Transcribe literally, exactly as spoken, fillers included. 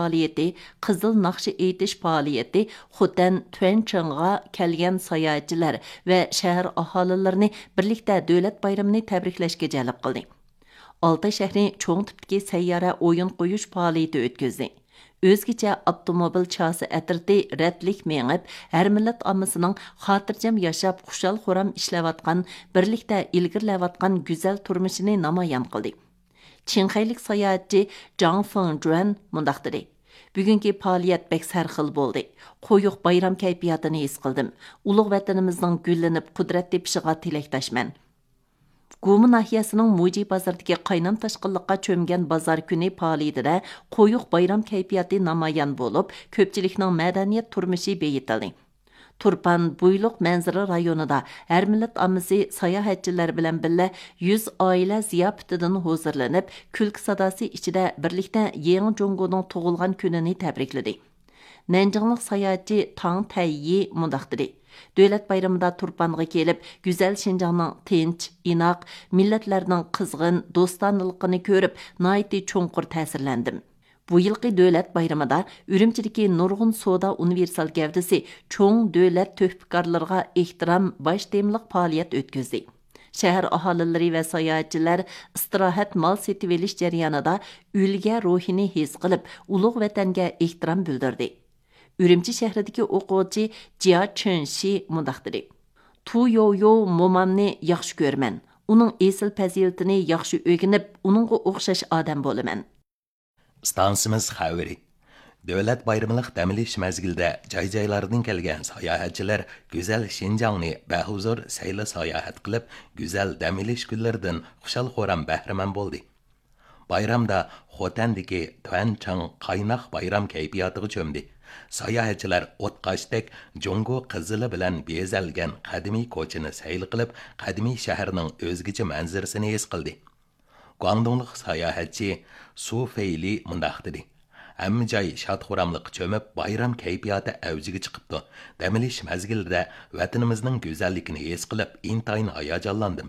پائالىيىتى، قىزىل ناخشا ئېيتىش پائالىيىتى خوتەن تۈەنچىڭغا كەلگەن ساياھەتچىلەر ۋە شەھەر ئاھالىلىرىنى بىرلىكتە دۆلەت بايرىمىنى تەبرىكلەشكە جەلپ قىلدى. ئالتاي شەھىرى چوڭ تىپتىكى سەييارە ئويۇن قويۇش پائالىيىتى ئۆتكۈزدى. ئۆزگىچە ئاپتوموبىل چاسا ئەترىتى رەتلىك مېڭىپ، ھەر مىللەت ئاممىسىنىڭ خاتىرجەم ياشاپ، خۇشال-خۇرام ئىشلەۋاتقان، بىرلىكتە ئىلگىرىلەۋاتقان گۈزەل تۇرمۇشىنى نامايان قىلدى. چىڭخەيلىك ساياھەتچى جاڭ فېڭجۈەن مۇنداق دېدى: بۈگۈنكى پائالىيەت بەك سەرخىل بولدى. قويۇق بايرام كەيپىياتىنى ھېس قىلدىم. ئۇلۇغ ۋەتىنىمىزنىڭ گۈللىنىپ، قۇدرەت تېپىشىغا تىلەكداشمەن. گۇما ناھىيەسىنىڭ مۇجى بازىرىدىكى قاينام تاشقىنلىققا چۆمگەن بازار كۈنى پائالىيىتىدە قويۇق بايرام كەيپىياتى نامايان بولۇپ، كۆپچىلىكنىڭ مەدەنىيەت تۇرمۇشى بېيىتىلدى. تۇرپان بۇيلۇق مەنزىرە رايونىدا ھەر مىللەت ئاممىسى ساياھەتچىلەر بىلەن بىللە يۈز ئائىلە زىياپىتىدىن ھۇزۇرلىنىپ، كۈلكە ساداسى ئىچىدە بىرلىكتە يېڭى جۇڭگونىڭ تۇغۇلغان كۈنىنى تەبرىكلىدى. نەنجىڭلىق ساياھەتچى تاڭ تەييى مۇنداق دېدى: دۆلەت بايرىمىدا تۇرپانغا كېلىپ، گۈزەل شىنجاڭنىڭ تىنچ، ئىناق، مىللەتلەرنىڭ قىزغىن دوستانىلىقىنى كۆرۈپ، ناھايىتى چوڭقۇر تەسىرلەندىم. بۇ يىلقى دۆلەت بايرىمىدا ئۈرۈمچىدىكى نۇرغۇن سودا ئۇنىۋېرسال گەۋدىسى چوڭ دۆلەت تۆھپىكارلىرىغا ئېھتىرام باش تېمىلىق پائالىيەت ئۆتكۈزدى. شەھەر ئاھالىلىرى ۋە ساياھەتچىلەر ئىستىراھەت مال سېتىۋېلىش جەريانىدا ئۈلگە روھىنى ھېس قىلىپ، ئۇلۇغ ۋەتەنگە ئېھتىرام بىلدۈردى. ئۈرۈمچى شەھىرىدىكى ئوقۇغۇچى جيا چېنشى مۇنداق دېدى: تۇ يويو مومامنى ياخشى كۆرىمەن. ئۇنىڭ ئېسىل پەزىلىتىنى ياخشى ئۆگىنىپ، ئۇنىڭغا ئوخشاش ئادەم بولىمەن. ئىستانسىمىز خەۋىرى. دۆلەت بايرىملىق دەم ئېلىش مەزگىلىدە جاي-جايلاردىن كەلگەن ساياھەتچىلەر گۈزەل شىنجاڭنى بەھۇزۇر سەيلە ساياھەت قىلىپ، گۈزەل دەم ئېلىش كۈنلىرىدىن خۇشال-خۇرام بەھرىمەن بولدى. بايرامدا خوتەندىكى تۈەنچاڭ قايناق بايرام كەيپىياتىغا چۆمدى. ساياھەتچىلەر ئوتقاشتەك جۇڭگو قىزىلى بىلەن بېزەلگەن قەدىمىي كوچىنى سەيلە قىلىپ، قەدىمىي شەھەرنىڭ ئۆزگىچە مەنزىرىسىنى ھېس قىلدى. گۇاڭدۇڭلۇق ساياھەتچى سۇ فېيلى مۇنداق دېدى: ھەممە جاي شاد-خۇراملىققا چۆمۈپ، بايرام كەيپىياتى ئەۋجىگە چىقىپتۇ. دەم ئېلىش مەزگىلىدە ۋەتىنىمىزنىڭ گۈزەللىكىنى ھېس قىلىپ، ئىنتايىن ھاياجانلاندىم.